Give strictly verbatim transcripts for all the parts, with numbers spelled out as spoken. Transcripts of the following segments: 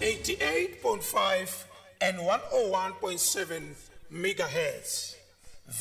eighty-eight point five and one oh one point seven megahertz.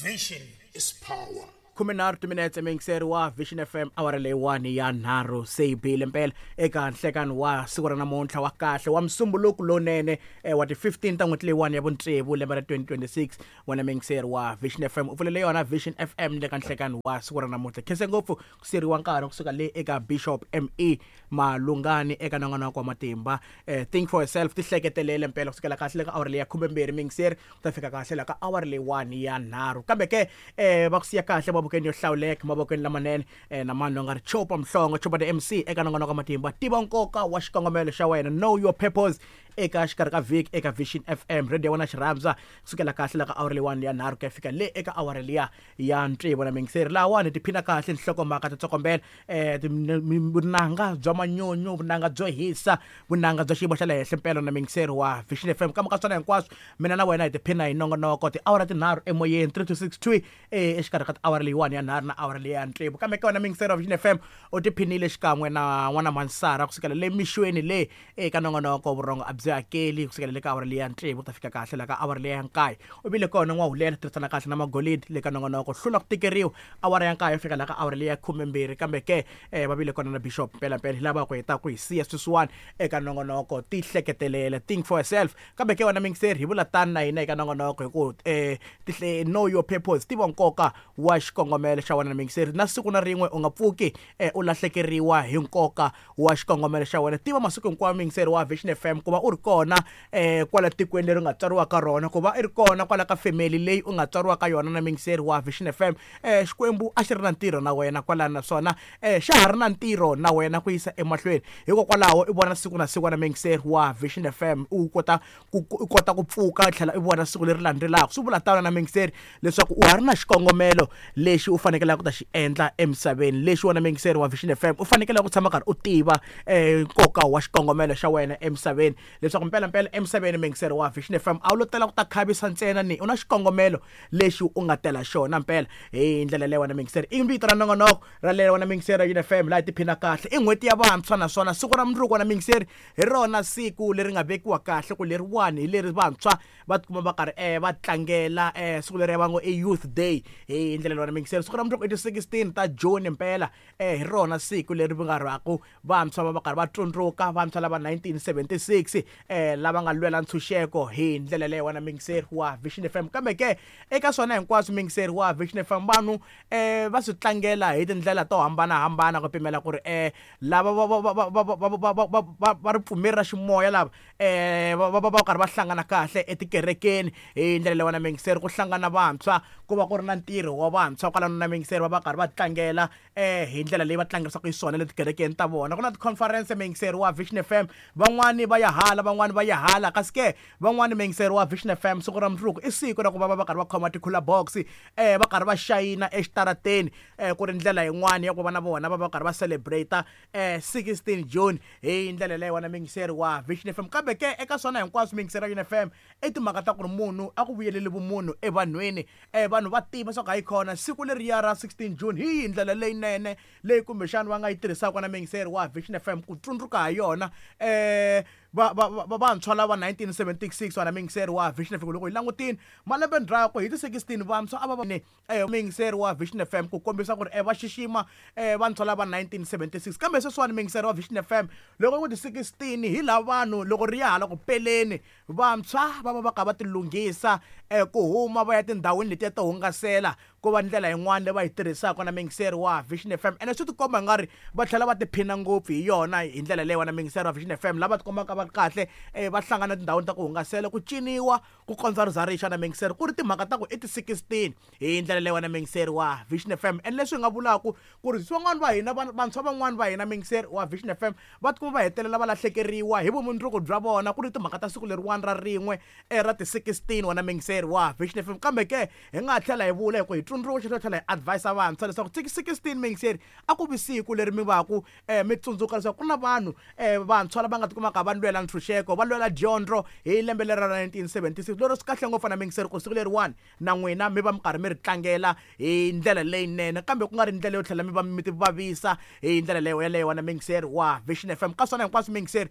Vision is power. Khumenharhu timinetse miyingiseri wa Vision F M awara leyiwani ya nharhu se yi bile mpela eka nhlekani wa siku ra namuntlha wa kahle wa musumbuluku lowunene, eh, wa ti fifteen ta n'hweti leyiwani ya vutsevu lembe ra twenty twenty-six. Wena miyingiseri wa Vision F M u pfulele yona Vision F M le ka nhlekani wa siku ra namuntlha. Khense ngopfu ku siyeriwa nkarhi kusuka le eka Bishop M E Malungani eka nongonoko wa matimba. Eh, think for yourself, tihleketelele mpela kusukela kahle le ka awara leyi ya khumembirhi miyingiseri ku ta fika kahle la ka awara leyiwani ya nharhu. Kambe ke, eh, va ku siya kahle mavokweni yo hlawuleka, mavokweni lamanene, eh, na mani loyi nga ri Chopa Mhlongo, Chopa the M C eka nongonoko wa matimba. Tiva nkoka wa xikongomelo xa wena, know your purpose eka xikarhi ka vhiki eka Vision F M radio ya wena xirhandza kusukela kahle la ka awara leyiwani ya nharhu ku ya fika le eka awara liya ya tsevu na miyingiseri. Lahawani tiphina kahle nhlokomhaka ta tsokombela, eh, vunanga bya manyunyu, vunanga byo hisa, vunanga bya xiyimo xa le henhla mpela na miyingiseri wa Vision F M. Kambe ka swona hinkwaswo mina na wena hi tiphina hi nongonoko tiawara tinharhu emoyeni three to six two, eh, exikarhi ka tiawara leyiwani ya nharhu na awara liya ya tsevu. Kambe ka wena miyingiseri wa Vision F M u tiphinile xikan'we na n'wana Mansara kusukela le mixweni le eka nongonoko vurhongo a byi hakeli kusukela le ka awara liya ya tsevu ku ta fika kahle la ka awara liya ya nkaye. U vile kona n'wahulela tirhisana kahle na magolidi le ka nongonoko hlula ku tikeriwa awara ya nkaye fika la ka awara liya ya khumembirhi. Kambe ke, eh, va vile kona na Bishop mpela mpela hi lava ku heta ku hi siya sweswiwani eka nongonoko tihleketelele, think for yourself. Kambe ke wena miyingiseri hi vula tani na hina eka nongonoko hi ku, eh, tihle-, know your purpose, tiva nkoka wa xikongomelo xa wena na miyingiseri. Na siku na rin'we u nga pfuki, eh, u lahlekeriwa hi nkoka wa xikongomelo xa wena. Tiva masiku hinkwawo miyingiseri wa Vision F M ku va u ri kona, eh, kwala tikweni leri u nga tswariwa ka rona, ku va i ri kona kwala ka family leyi u nga tswariwa ka yona na miyingiseri wa Vision F M. Eh, Xikwembu a xi ri na ntirho na wena kwalano, naswona, eh, xa ha ri na ntirho na wena ku yisa emahlweni. Hikokwalaho i vona siku na siku na miyingiseri wa Vision F M u kota ku, ku, u kota ku pfuka u tlhela u vona siku leri landzelaka. Swi vula tano na miyingiseri leswaku u ha ri na xikongomelo lexi u fanekelaka ku ta xi endla emisaveni, lexi wena miyingiseri wa Vision F M u fanekelaka ku tshama karhi u tiva, eh, nkoka wa xikongomelo xa wena emisaveni, leswaku mpela mpela emisaveni miyingiseri wa Vision F M a wu lo tela ku ta khavisa ntsena ni u na xikongomelo lexi u nga tela xona mpela. Hi ndlela leyi wena miyingiseri i vito ra nongonoko ra leyi wena miyingiseri ya Vision F M laha hi tiphina kahle. I n'hweti ya vantshwa naswona siku ra mundzuku wena miyingiseri hi rona siku leri nga vekiwa kahle ku leriwani hi leri vantshwa va tikuma va karhi, eh, va tlangela, eh, siku leri va ngo i Youth Day. Hi ndlela leyi wena miyingiseri siku ra mundzuku i ti sixteen ta June mpela, eh, hi rona siku leri va nga rhaku vantshwa va va karhi va tsundzuka vantshwa lava nineteen seventy-six, eh, lava nga lwela ntshunxeko hi ndlela leyi wena miyingiseri wa Vision F M. Kambe ke eka swona hinkwaswo miyingiseri wa Vision F M vanhu, eh, va swi tlangela hi tindlela to hambanahambana ku pimela ku ri, eh, lava va, va, va, va, va, va, va, va, va, va, va ripfumeri ra ximoya lava, eh, va, va, va, va karhi va hlangana kahle etikerekeni hi ndlela leyi wena miyingiseri ku hlangana vantshwa ku va ku ri na ntirho wa vantshwa kwalano na miyingiseri va va karhi va tlangela, eh, hi ndlela leyi va tlangerisaka xiswona le tikerekeni ta vona. Ku na ti-conference miyingiseri wa Vision F M, van'wani va ya hala, van'wani va ya hala, kasi ke van'wani miyingiseri wa Vision F M siku ra mundzuku i siku ra ku va va va karhi va khoma ti-cooler box, eh, va karhi va xayina exitarateni, eh, ku ri ndlela yin'wani ya ku va na vona va va karhi va celebrate, eh, sixteen June hi ndlela leyi wena miyingiseri wa Vision F M. Kambe ke eka swona hinkwaswo miyingiseri wa Vision F M i timhaka ta ku ri munhu a ku vuyeleli vumunhu evanhwini, eh, vanhu va tiva swa ku hayi khona siku leriya ra sixteen June hi yihi ndlela leyinene leyi kumbexana va nga yi tirhisaka na miyingiseri wa Vision F M ku tsundzuka ha yona, eh, va, va, va, va vantshwa lava nineteen seventy-six wena miyingiseri wa Vision F M. Loko hi langutile malembe ndzhaku hi ti sixteen vantshwa a va va ni, eh, miyingiseri wa Vision F M ku kombisa ku ri, eh, va xixima, eh, vantshwa lava nineteen seventy-six. Kambe sweswiwani miyingiseri wa Vision F M loko ku ti sixteen hi lava vanhu loko ri ya hala ku peleni vantshwa va va va kha va tilunghisa, eh, ku huma va ya tindhawini letiya to hungasela ku va ndlela yin'wana leyi va yi tirhisaka na miyingiseri wa Vision F M. Ene swi tikomba nga ri va tlhela va tiphina ngopfu hi yona hi ndlela leyi wena miyingiseri wa Vision F M lava tikombaka va ri kahle, eh, va hlangana tindhawini ta ku hungasela ku ciniwa ku kondza ri za ri xa na miyingiseri ku ri timhaka ta ku i ti sixteen hi ndlela leyi wena miyingiseri wa Vision F M. Ene leswi hi nga vulaka ku ri swin'wana va hina, van-, vantshwa van'wana va hina miyingiseri wa Vision F M va tikuma va hetelela va lahlekeriwa hi vumundzuku bya vona ku ri timhaka ta siku leriwani ra rin'we, eh, ra ti sixteen wena miyingiseri wa Vision F M. Kambe ke hi nga tlhela hi vula hi ku hi tsundzuxa hi tlhela hi advise vantshwa leswaku sixteen miyingiseri a ku vi siku leri mi va ku, eh, mi tsundzuka leswaku ku na vanhu, eh, vantshwa lava nga tikumaka va lwela ntshunxeko, va lwela dyondzo hi lembe leri ra nineteen seventy-six. Lero swi kahle ngopfu na miyingiseri ku siku leriwani na n'wina mi va mi karhi mi ri tlangela hi ndlela leyinene, kambe ku nga ri ndlela yo tlhela mi va mi ti vavisa hi ndlela leyo yeleyo wena miyingiseri wa Vision F M. Ka swona hinkwaswo miyingiseri